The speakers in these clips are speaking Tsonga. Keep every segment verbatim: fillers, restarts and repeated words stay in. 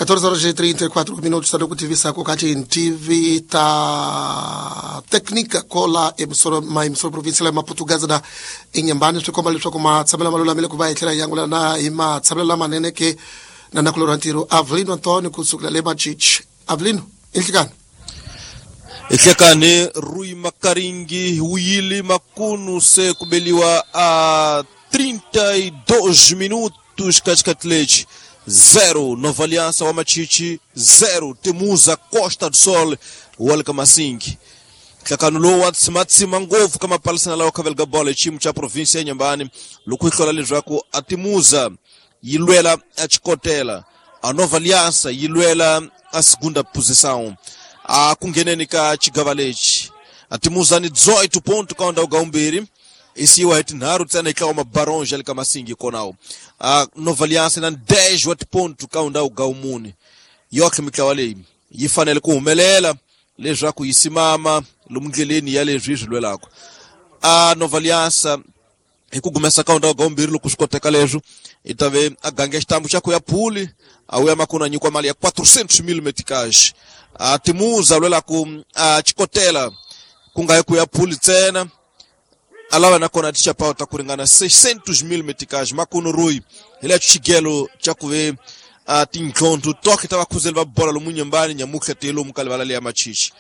catorze horas e trinta e quatro minutos, está ku tivisa ku kati T V ta técnica kola emissora ma emissora provincial ya Maputo Gaza da Inhambane swi komba leswaku matshamelo ma lulamile ku va hi tlhela hi angula na hi matshamelo lamanene ke na nakulorhi ntirho Avelino Antonio kusukela le Machichi. Avelino, inhlikani Ihlekane Rui Makaringi Wili Makunu se kubeliwa a trinta e dois minutos katikati zero Nova Aliança wa Machichi zero Temuza Costa do Sol walka Masingi hlakano lowu wa tsimatsima ngopfu ka mapalisana lawa khaveleka bola hi xiyimo xa province ya Inhambane loko yi hlola leswaku a Temuza yi lwela a Chikotela a Nova Aliança yi lwela a segunda posição a ku ngheneni ka xigava lexi a Temuza ni dezoito ponto ka ndhawu ga vumbirhi isiwa hi tinharhu ntsena yi tlawa mabaronge ya le ka Masingi konawo a Nova Aliança na dez wa tiponto ka ndhawu ga vumune yotlhe mitlawa leyi yi fanele ku humelela leswaku yi simama lomu ndleleni ya leswi yi swi lwelaka a Nova Aliança hi ku gumesa ka ndhawu ga vumbirhi loko swi koteka leswo i ta ve a gange xitambu xa ku ya phuli a wuya makunu a nyikiwa mali ya quatrocentos mil meticage a Temuza lwelaku a Chikotela ku nga yi ku ya phuli ntsena a lava nakona tixapawu ta ku ringana seiscentos mil meticage makunu Rui hi le xigelo xa ku ve a tintlhontho toke ta vakhuzeli va bola lomu Inhambane nyamutlha te lomu ka livala leya Machichi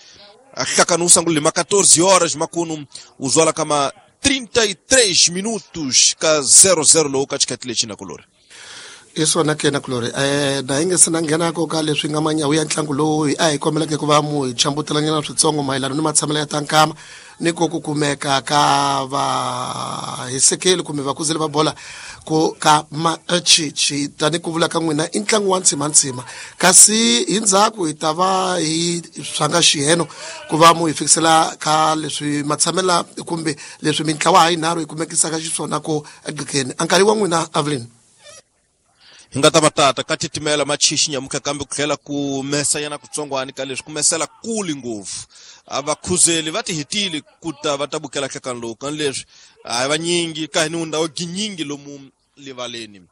a hlakano wu sungule ma catorze horas makunu wu zwala kama trinta e três minutos ka zero zero lowu ka xikati lexi na kulori i swona ke na kulori eh na hi nge se na nghenako ka leswi nga manyawu ya ntlangu lowu a hi kombeleke ku va mu hi chambutelanyana switsongo mayelana ni matshamelo ya tankama ni ko ku kumeka ka vahisekeli kumbe vakuzeli va bola ku ka Machichi tani ku vula ka n'wina i ntlangu wa ntsimantsima kasi hi ndzhaku hi ta va hi swanga xiheno ku va mu hi fikisela ka leswi matshamela kumbe leswi mintlawa ha yinharhu hi kumekisaka xiswona ku egqikeni a nkarhi wa n'wina Avelino hi nga ta va tata ka titimela Machichi nyamutlha kambe ku tlhela ku mesa yana kutsongwani ka leswi ku mesela kuli ngopfu a vakhuzeli va ti hetile ku ta va ta bukela hlekano lowu kani leswi a hi vanyingi ka hini ndhawu ginyingi lomu livaleni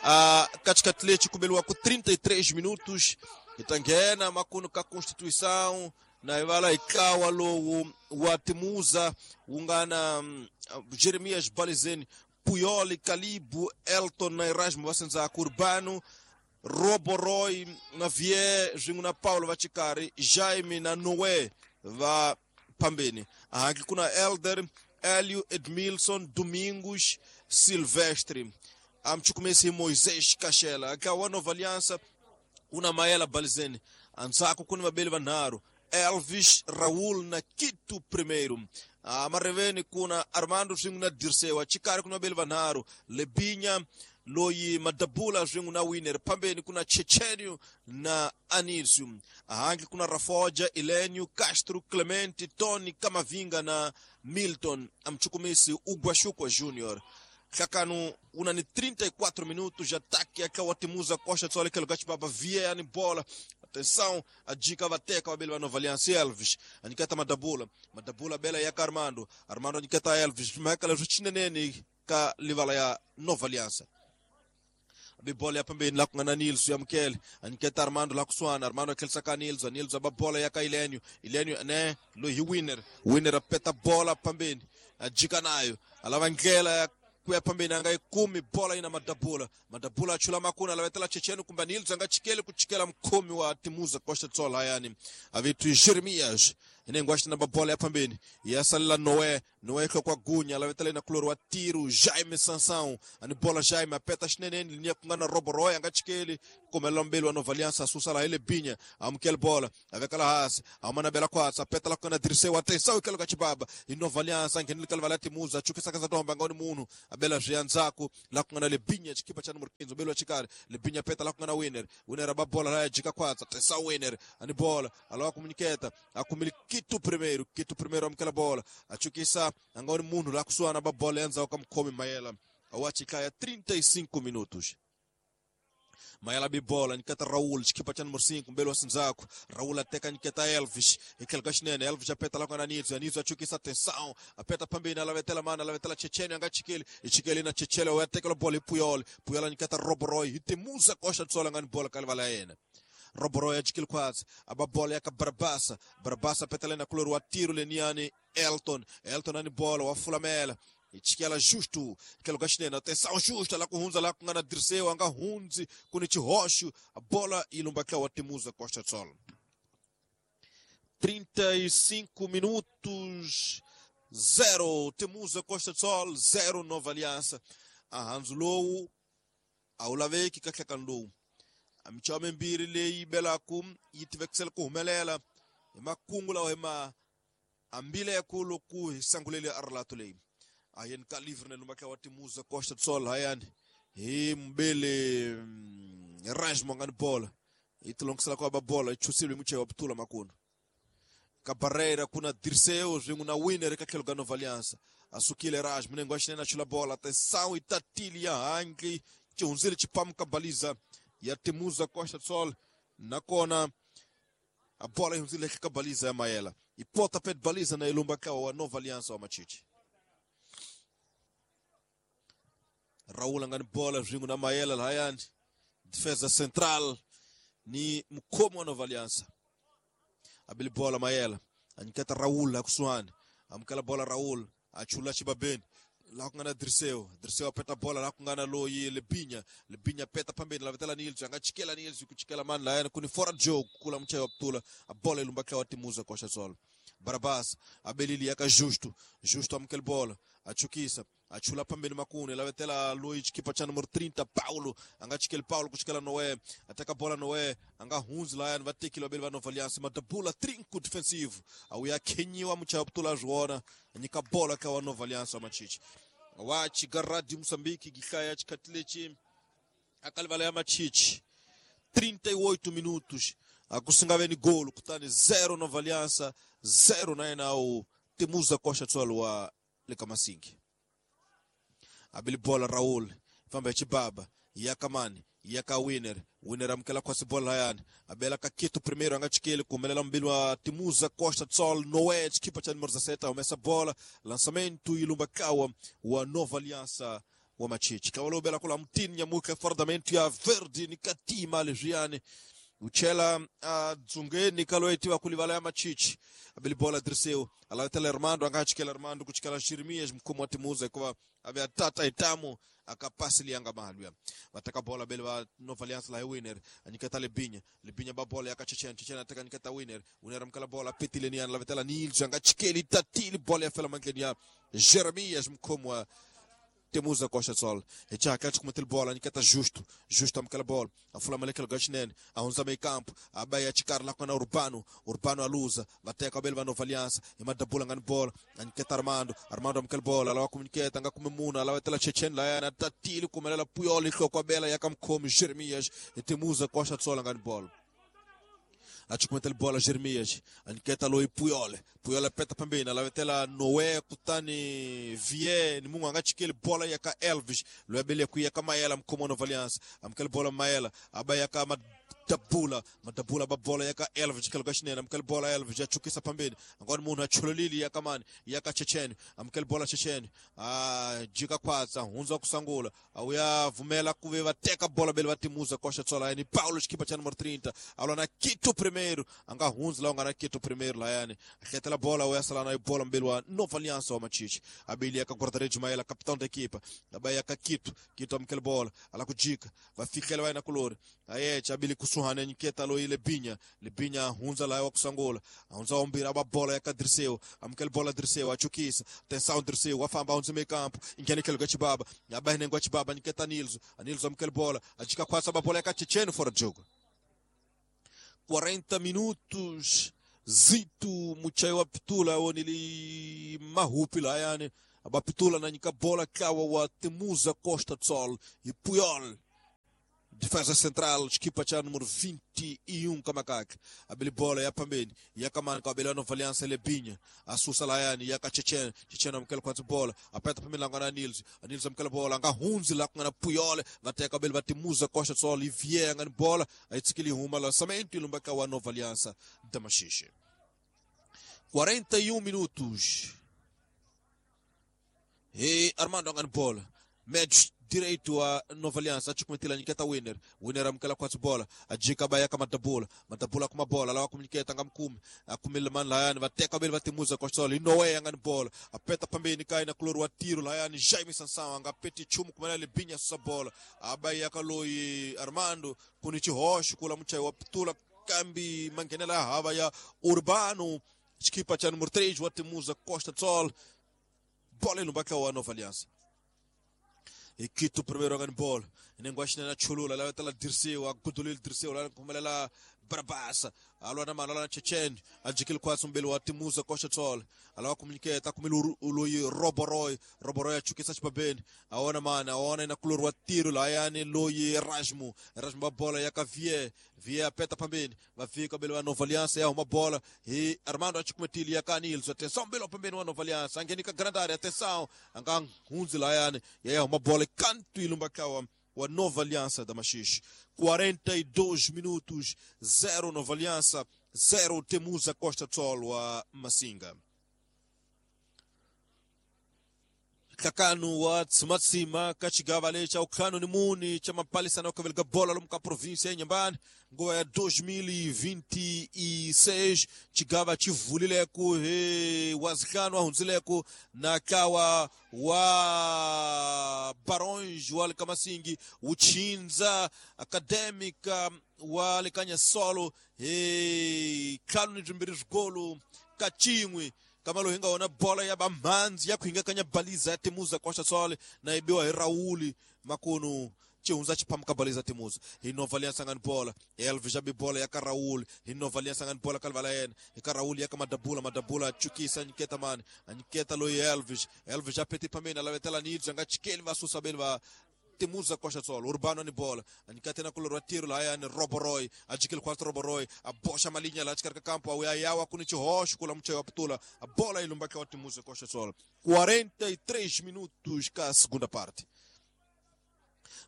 a ka xikati lexi ku beliwa ku trinta e três minutos hi ta nghena makunu ka Constituição na hi vala hi ntlawa lowu wa Temuza wu nga na Jeremias Balizeni Puyoli, Calibo, Elton na Erasmo vasendzaka Urbano, Roboroy na Vier swin'we na Paulo va Chikari, Jaime na Noé va phambeni. Ahanki ku na Elder, Hélio, Edmilson, Domingos, Silvestre. Amchukumesi Moisés Kachela. Ntlawa wa Nova Aliança una Maela Balizeni. Andzhaku ku ni vabeli vanharhu, Elvis, Raul na Quito primeiro. A mareveni kuna Armando swin'we na Dircewa Chikari kuna vabeli vanharhu, Lebinha loyi Madabula swin'we na Winner phambeni kuna Chechenio na Anísio. Ahangi kuna Rafoja, Elenio, Castro, Clemente, Tony, Camavinga na Milton. Amchukumisi Uguaxukwa Júnior. Hlakano una ni trinta e quatro minutos ataque aka wa Temuza Costa do Sol aquele gato baba Vier bola. Atenção, a dica vateca wa bela Nova Aliança Elvis. Aniketa Madabula, Madabula bela ya Armando, Armando aniketa Elvis, Michael Ruchineneni ka livala ya Nova Aliança. Bibola ya pembeni la kungana Nils ya Mkele, aniketa Armando la kuswana, Armando akelsa ka Nils, Nils ababola ya ka Ilenio, Ilenio ne lo hi winner, winner apeta bola pembeni, ajika nayo, alava ndlela ya kuya pambeni anga ikumi bola ina Madabula, Madabula achula makuna alavetela Chechenu kumba Nils anga chikele kuchikela mkomi wa Temuza Costa do Sol hayani avitu Jeremias inengwa na bola ya pambeni yasalela Noé, Noé kwa gunya alavetela ina kuloro wa tiro Jaime Sansão ani bola Jaime apeta chineneni linia kungana Roboroy anga chikele kumela mbele wa Nova Aliança susa la ile binya amkel bola avekala hasi amana bela kwatsa apeta la kuna Dirceu atenção ikelo kachibaba i Nova Aliança ngenile kalvala Temuza chukisa kaza tomba ngoni munhu abela zvianzaku la kungana lebinya chikipa cha número quinze belo chikari lebinya peta la kungana winner winner ababola la jika kwatsa atenção winner ani bola alawa komuniketa akumili Quito primeiro Quito primeiro amkela bola achukisa ngoni munhu la kusuana babola yanza okamkhomi Mayela awachikaya trinta e cinco minutos Mayela bibola niketa Raul chikipa cha número cinco mbele wa Sinzaku Raul ateka niketa Elvis ikelga xinene Elvis apeta la kona Nilson Nilson achukisa atenção apeta pambeni alavetela mana alavetela Chechene anga chikeli ichikeli na Chechele ateka la bola Puyol Puyol niketa Roboroy Temuza Costa do Sol ngani bola kalivala yena Roboroya jikil kwatsi aba bola yaka Barabasa Barabasa petalena kulori wa tiro leniani Elton Elton ani bola wa fulamela ichikela justo kelo gashinena atenção justo lá kuhunza lá kungana Dirceu anga hunzi kuni chihoshu a bola ilumba kwa Temuza Costa Sol. trinta e cinco minutos, zero Temuza Costa Sol, zero Nova Aliança. Ahanzulou aulaveki kahlakanlou amichame mbiri leyi belaku yitivekisela ku humelela hi makungu lawa hi ma ambile yakulu ku hi sangulele arlato leyi ayeni ka livre ne lumba wa Temuza Costa Sol hayani hi mbele Range mongani bola itilongisela kwa babola ichusile muche wa putula makunu Cabarreira kuna Dirceu swin'we na Winner eka tlhelo ka Nova Aliança asukile Raj minengo ya xinene a chula bola atenção itatili ya handli xihundzile xipamu ka baliza ya Temuza Costa Sol nakona a bola yi hundzile ka baliza ya Mayela i pota pet baliza na ilumba ka wa Nova Aliança wa Machichi Raul angani bola swin'we na Mayela lahayani defesa central ni mkhomo wa Nova Aliança abili bola Mayela anyiketa Raul akusuhani amukela bola Raul achula xibabeni laha ku nga na Dirceu Dirceu apeta bola laha ku nga na loyi Lebinya Lebinya peta phambeni lavetela Nils anga chikela Nils ku chikela mani lahayani ku ni fora joe kula muchayi wa putula a bola yi lumba wa Temuza Costa Sol Barabas abelili yaka Justo Justo amukela bola achukisa achula pambeni makuni lavetela loyi xikipa xa numero trinta Paulo anga chikeli Paulo ku chikela Noé ateka bola Noé anga hundzi lahayani va tekile vabeli va Nova Aliança madabula trinco defensivo awuya khenyiwa muchayi wa putula a nyika bola ka wa Nova Aliança wa Machichi wa chigaradi Moçambique gihlaya xikhathi lexi akalivala ya Machichi trinta e oito minutos akusingaveni golo kutani zero Nova Aliança zero na yena o Temuza Costa Sol wa le ka Masingi abili bola Raul famba ya chibaba yakamani yaka Winner Winner amukela kwasi bola hayani abela ka Kito primeiro anga chikele kumelela mbili wa Temuza Costa Sol Noé chikipa cha número dezessete amesa bola lançamento ilumba kawa wa Nova Aliança wa Machichi kawalo bela kula mtini nyamuka fordamento ya Verde ni katima lejiane uchela uh, dzungeni kaloetiwa kulivala ya Machichi abili bola Dirceu alavetela Armando angachikela Armando kuchikela Jeremias mkhomo wa Temuza ikuva ave atata itamu akapasi lianga mahalwa bataka bola bele ba Nova Aliança la Winner anyiketa Lebinya Lebinya ba bola yakachechena chechena ataka anyiketa Winner Winner amkala bola petile ni alavetela Nils angachikeli tatili bola ya fela mankeni ya Jeremias mkhomo wa Temuza Costa Sol echaka kumetel bola nikata Justo Justo amkala bola afula malekelo gachinen aunza meio campo abaya chikar la kona Urbano Urbano aluza bateka bel ba Nova Aliança imadabula ngani bola aniketa Armando Armando amkala bola alawa kumniketa ngakumemuna alawa tela Chechen la yana tatili kumelela Puyol kwa bela yakamkhomi Jeremias Temuza Costa Sol ngani bola achukumetel bola Jeremias aniketa loi Puyol Puyol apeta pambeni alavetela Noé kutani Vie ni mungu angachikele bola yaka Elvis loyabele kuyaka Mayela mkhomo Nova Aliança amkele bola Mayela abayaka Madabula Madabula babola yaka Elvis kelo gashinena amkele bola Elvis achukisa pambeni angoni munhu achulolili yaka mani yaka Chechen amkele bola Chechen ah jika kwatsa hunza kusangula awuya vumela kuve vateka bola bele vatimuza Costa Sol ni Paulo xikipa cha número trinta alona Kito primeiro anga hunzi la ungana Kito primeiro layani ahletela bola uyasala nayo bola mbili wa Nova Aliança wa Machichi abili yaka guarda-redes Mayela capitão da equipa abayaka Kito Kito amkele bola ala kujika vafikela wayena kulori ayecha abili kusuhane nyiketa lo Lebinya Lebinya hunza la wakusangola hunza ombira aba bola yaka Dirceu amkele bola Dirceu achukisa atenção Dirceu wafamba hunza meio campo ingene kelo gachibaba abahene ngwachibaba nyiketa Nilso Nilso amkele bola achika kwasa aba bola yaka Checheno fora de jogo. quarenta minutos Zito muchayi wa pitula onili mahupi layani abapitula na nyika bola kawa wa Temuza Costa Sol e Puyol defesa central equipa cha número vinte e um kamakaka abili bola ya pambeni yakamani kwa abeli Nova Aliança Lebinya asusa layani yaka Chechen Chechen amkela kwanza bola apeta pambeni langana Nils Nils amkela bola anga hunzi la kungana Puyol vateka abeli Temuza Costa Sol Ivier angani bola aitsikili huma lançamento ilumba wa Nova Aliança da Machixe. quarenta e um minutos e Armando angani bola médio direito wa Nova Aliança achukumetela nyiketa winner winner amukela kwatsi bola ajika baya ka madabula madabula kuma bola lawa kumnyiketa nga mkumi akumile man layani vateka beli vatimuza kwa solo inowe yanga ni bola apeta pambeni kai na kulori wa tiro layani Jaime Sansão anga peti chumu kumela libinya susa bola abai yakaloyi Armando kuni chihosho kula muchai wa putula kambi mangenela hava ya Urbano chikipa cha número três wa Temuza Costa Sol bola ilumbaka wa Nova Aliança Ikito primeiro ngani bola nengwashina na chulula la tala Dirceu agudulil Dirceu la kumelela Barabasa alwa na malala Chechen ajikil kwa sumbelo wa Temuza Costa Sol alawa kumniketa kumilu uloyi Roboroy Roboroy achukisa chibabeni aona mana aona ina kulor wa tiro la yani loyi Erasmo Erasmo bola ya Cavie Vie apeta pambeni vafika belo wa Nova Aliança ya uma bola e Armando achikumetili ya Kanilso atenção belo pambeni wa Nova Aliança angenika grande área atenção angang hunzi la yani ya uma bola canto ilumbakawa wa Nova Aliança da Machixe. quarenta e dois minutos, zero Nova Aliança, zero Temuza Costa Sol wa Massinga. Kakanu wa Tsimatsima kachigava lecha ukhano ni muni cha mapalisa na kavelga bola lomka província ya Inhambane ngowa ya dois mil e vinte e seis chigava chivulileku he wazikano ahunzileku na kawa wa Barões wa Kamasingi uchinza Acadêmica wa Lekanya Solo he khano ni zvimbiri zvigolo kachimwe kamalo hinga ona bola ya bamanzi ya kuhinga kanya baliza ya Temuza Costa Sol na ibiwa hi Raul makono chihunza chiphamuka baliza Temuza hi Nova Aliança ngani bola Elvis jabi bola ya ka Raul hi Nova Aliança ngani bola kalvala yena hi ka Raul ya ka Madabula Madabula chukisa nyiketa mani anyiketa loyi Elvis Elvis apeti pamena lavetela nidza nga chikeli vasusa beli va Temuza Costa Sol Urbano ni bola anikate na kulor wa tiro la yani Roboroy ajikil kwa Roboroy abosha malinya la chikarka campo au yawa kuni chihosh kula mche wa putula a bola ilumbaka wa Temuza Costa Sol. quarenta e três minutos ka segunda parte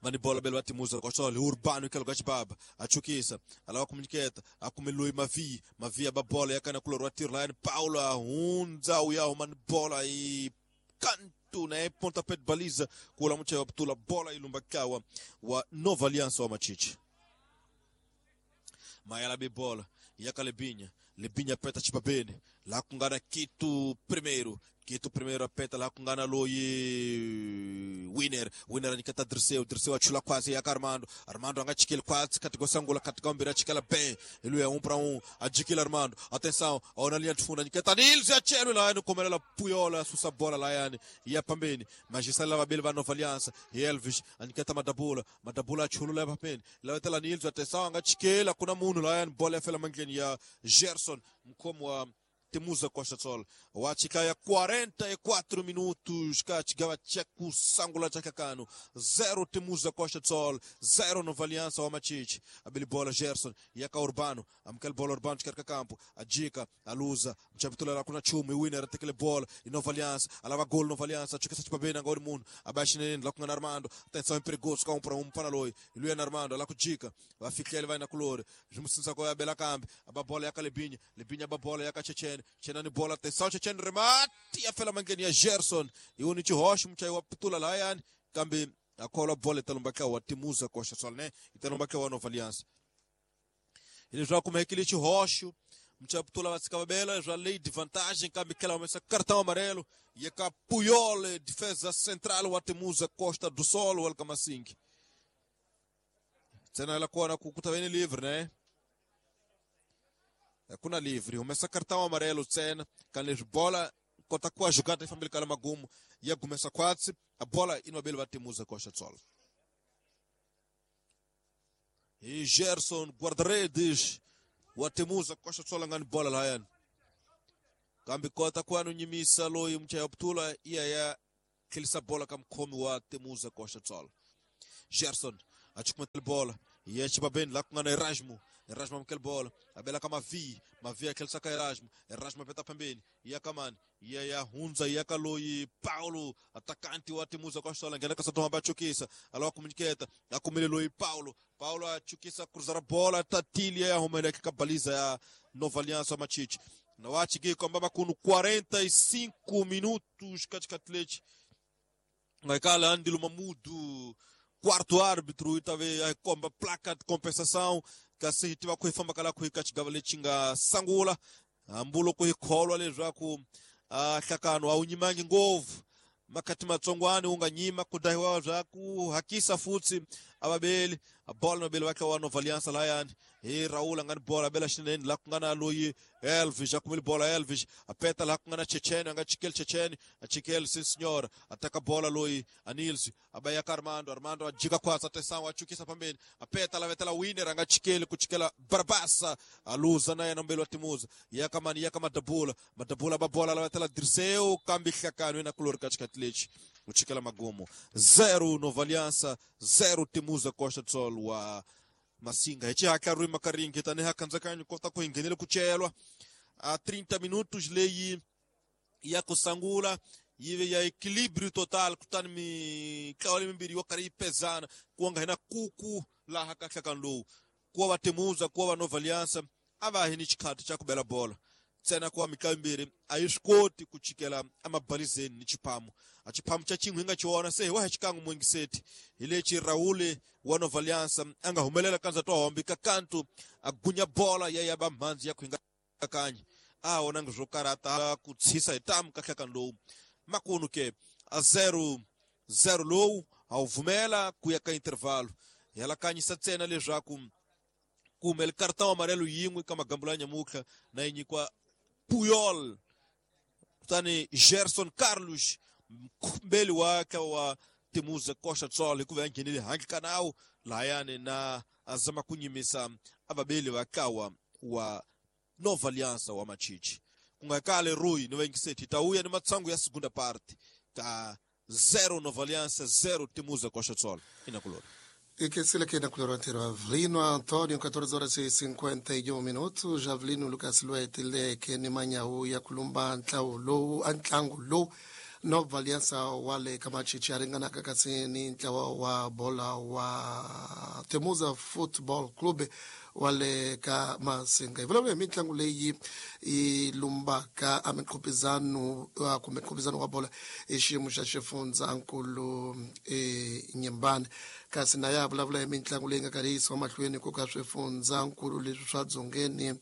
mani bola belo Temuza Costa Sol Urbano que lugar de baba achukisa alawa komuniketa akumilui Mavi Mavi aba bola yakana kulor wa tiro la yani Paula hunza uyaho mani bola i canto né pontapé de baliza kula mche wa putula bola ilumbakawa wa Nova Aliança wa Machiche Mayala be bola yaka Lebinha Lebinha peta chibabene lá kungana Quito primeiro Quito primeiro apeta lá kungana loyi Winner Winner anikata Dirceu Dirceu achula quase yaka Armando Armando anga chikele quase katigosangula katigambira chikela bem ele é um para um adikila Armando atenção ona linha de fundo anikata Nils achelo lá no comerela Puyola susa bola lá yani ia pambeni magistral lava bele va Nova Aliança e Elvis anikata Madabula Madabula achulu lá pambeni lá tela Nils atenção anga chikela kuna munu lá yani bola fela mangeni ya Gerson mkomo wa Temuza Costa Sol wachikaya quarenta e quatro minutos kachigava cheku sangula chakakano zero Temuza Costa Sol zero Nova Aliança wa Machiche abili bola Gerson yaka Urbano amkel bola Urbano chikarka campo ajika aluza mchapitula la kuna chumi winner atekele bola e Nova Aliança alava gol Nova Aliança chukesa chipabena ngori munu abashine la kuna Armando atenção perigoso ka um para um para loi Luiz Armando la kujika vafikele vai na color jumusinza ko ya bela kambi ababola yaka Lebinha Lebinha ababola yaka Chechen Chenani bola atenção Chechen remate a fela mangeni ya Gerson e o Nichi Rocha mchai wa putula la yani kambi akola bola italumbaka wa Temuza Costa Sol né italumbaka wa Nova Aliança ele joga como aquele Rocha mchai putula vatsika bela já lei de vantagem kambi kela uma cartão amarelo e a Puyol defesa central wa Temuza Costa do Sol o Alcamasing tsena ela kona kukuta bem livre né kuna livre começa cartão amarelo tsena kan bola kota kwa jogada família kala magumo ya começa quatro a bola inobel va Temuza Costa Sol e Gerson guarda-redes wa Temuza Costa Sol ngani bola la yan kambi kota kwa nunyimisa loyi mchaya putula iya ya kilisa bola kam komi wa Temuza Costa Sol Gerson achukumetel bola e chibaben la kungana Erasmo Erasmo amkel bola abela kama vi Mavi akel saka Erasmo Erasmo peta pembeni ya kamani ya ya hunza ya kaloi Paulo atacante wa Temuza Costa Sol ngena kasa toma bachukisa alawa komuniketa akumele loi Paulo Paulo achukisa cruzar a bola tatilia ya romele kabaliza ya Nova Aliança Machiche na wachige kwamba makuno quarenta e cinco minutos katikati leche Ngaikala Andilo Mamudu quarto árbitro itave a komba placa de compensação kasi hi tiva ku hi fambaka la ku hi ka xigava lexi nga sangula hambulo ku hi kholwa leswaku a hlakano a wu nyimangi ngopfu makati matsongwani wu nga nyima ku dahiwa bya ku hakisa futsi avabeli bola nobeli va wa Nova Aliança layani hi Raul a nga ni bola bela xinene la ku nga na loyi Elvis a kumile bola Elvis a peta la ku nga na Checheni a nga chikeli Checheni a chikeli sim senhora ataka bola loyi Anils a ba ya ka Armando Armando a jika kwatsa tesango a chukisa pambeni a peta la vetela winner a nga chikeli ku chikela Barbasa a luza na yena mbeli wa Timuza ya ka mani ya ka Madabula Madabula ba bola la vetela Dirceu kambi hlakano na kulori ka xikati lexi ku chikela magumo zero Nova Aliança zero Timuza Costa do Sol wa Masinga hi xihatla ri makaringi tanihi akhandzakanyo kota ku hi nghenele ku celwa a trinta minutos leyi ya ku sangula yi ve ya equilíbrio total kutani mitlawa leyi mimbirhi yo karhi yi pezana ku nga hina kuku laha ka nhlakano lowu ku wa va Timuza ku wa va Nova Aliança a va hi ni xikhati xa ku bela bola ntsena ku wa mitlawa yimbirhi a yi swi koti ku chikela emabalizeni ni xiphamu a xiphamu xa xin'we hi nga xi vona se hi wa hi xikan'we muingiseti hi lexi Raul wa Nova Aliança a nga humelela kandza twa hombi ka kantu a gunya bola ya ya va mhandzi ya ku hi nga kanyi a vonangi swo karata ku tshisa hi tamu ka nhlakano lowu makunu ke a zero zero lowu a wu vumela ku ya ka intervalo hi alakanyisa ntsena leswaku ku humele karata wa amarelo yin'we ka magambulo ya nyamutlha na yi nyikiwa Puyol kutani Gerson Carlos mbeli wa ka wa Timuza Costa do Sol hikuva ya nghenile handle ka nawu lahayani na azama ku nyimisa avabeli va kawa wa Nova Aliança wa Machichi ku nga kale Rui ni vaingiseti ta uya ni matsangu ya segunda parte ka zero Nova Aliança zero Timuza Costa do Sol inakulori. E que se aqui na color anterior, Avelino Antônio, quatorze horas e cinquenta e um minutos, Avelino Lucas Luetile, que ni ya kulumba ntlawo lowu antlangu lowu Nova Aliança wale kamachichi aringana kasi ni ntlawa wa bola wa Temuza Football Club wale ka Masinga. Hi vulavula hi mitlangu leyi yi lumbaka a miqhupizano kumbe nqhupizano wa bola hi xiyimo xa xifundzankulu eNyembane kasi na ya vulavula hi mitlangu leyi nga karhi yi yisiwa mahlweni ku ka swifundzankulu leswi swa dzongeni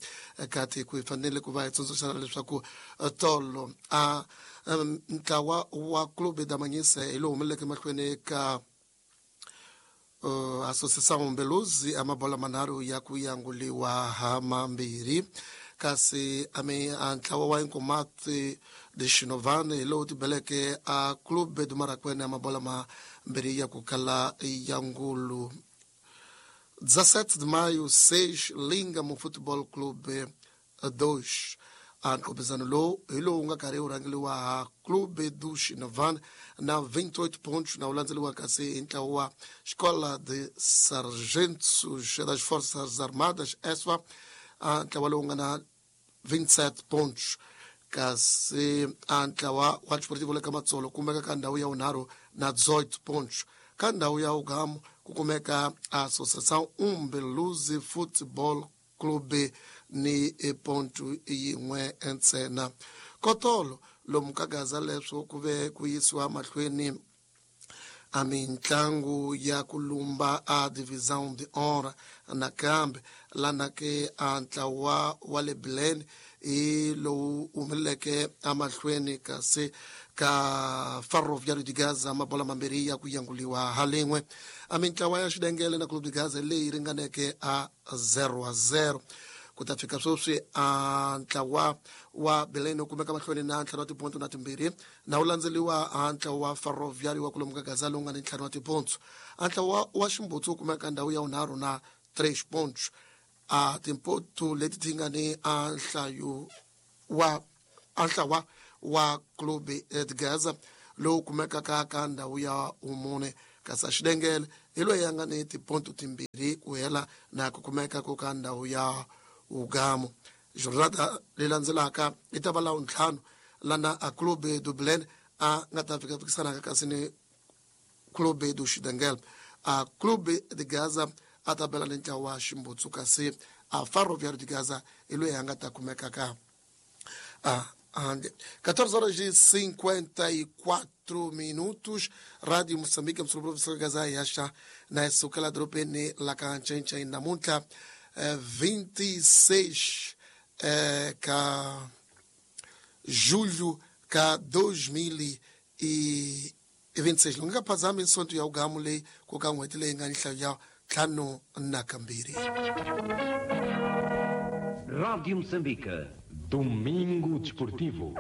ka tiko. Hi fanele ku va hi tsundzuxana leswaku tolo a ntlawa wa Clube da Manhissa hi lowu humeleleke mahlweni ka Uh, Associação Mbeluzi amabola manharhu ya ku yanguliwa ha mambirhi kasi ame a ntlawa wa Inkomati de Xinovani hi lowu tibeleke a Clube do Marakwene amabola mambirhi ya ku kala ya ngulu. dezessete de maio seis Lingamo Futebol Clube dois a nqhupizano lowu hi lowu nga karhi wu rhangeliwa ha Clube do Xinovan na vinte e oito pontos na wu landzeliwa kasi hi ntlawa wa Escola de Sargentos das Forças Armadas E S F A a ntlawa lowu nga na vinte e sete pontos kasi a ntlawa wa Desportivo le ka Matsolo kumeka ka ndhawu ya vunharhu na dezoito pontos ka ndhawu ya ugamu ku kumeka Associação Umbeluzi Futebol Clube ni ponto yin'we ntsena. Kotolo lomu ka Gaza leswo ku ve ku yisiwa mahlweni a mintlangu ya ku lumba a Divisão de Honra nakambe lana ke a ntlawa wa le Belém hi lowu humeleleke emahlweni kasi ka Ferroviário de Gaza mabola mambirhi ya ku yanguliwa ha lin'we. A mintlawa ya Xidengele na Clube de Gaza leyi ringaneke a zero a zero. Ku ta fika sweswi a ntlawa wa Belém wu kumeka mahlweni na ntlhanu wa tiponto na timbirhi na wu landzeliwa a ntlawa wa Ferroviário wa kulomu ka Gaza lowu nga ni ntlhanu wa tiponto. A ntlawa wa Ximbutsu wu kumeka ndhawu ya vunharhu na três pontos. A timpoto leti ti nga ni a nhlayo wa a ntlawa wa Clube de Gaza lowu kumekaka ka ndhawu ya vumune kasi a Xidengele hi loyi a nga ni tiponto timbirhi ku hela na ku kumeka ku ka ndhawu ya ugamu. Jornada leyi landzelaka yi ta va la ntlhanu lana a Clube do Belém a nga ta fika fikisanaka kasi ni Clube do Xidengele. A Clube de Gaza a ta bela ni ntlawa wa Ximbutsu kasi a Ferroviário de Gaza hi loyi a nga ta kumeka ka a handle. catorze horas e cinquenta e quatro minutos. Rádio Moçambique, professor Gazai acha na sukela dropene la kanchencha namuntlha vinte e seis eh, ka julho ka dois mil e vinte e seis. Lunga phazami nsonto ya ugamu leyi ku ka n'hweti leyi nga nhlayo ya ntlhanu na kambirhi. Rádio Moçambique. Domingo Desportivo.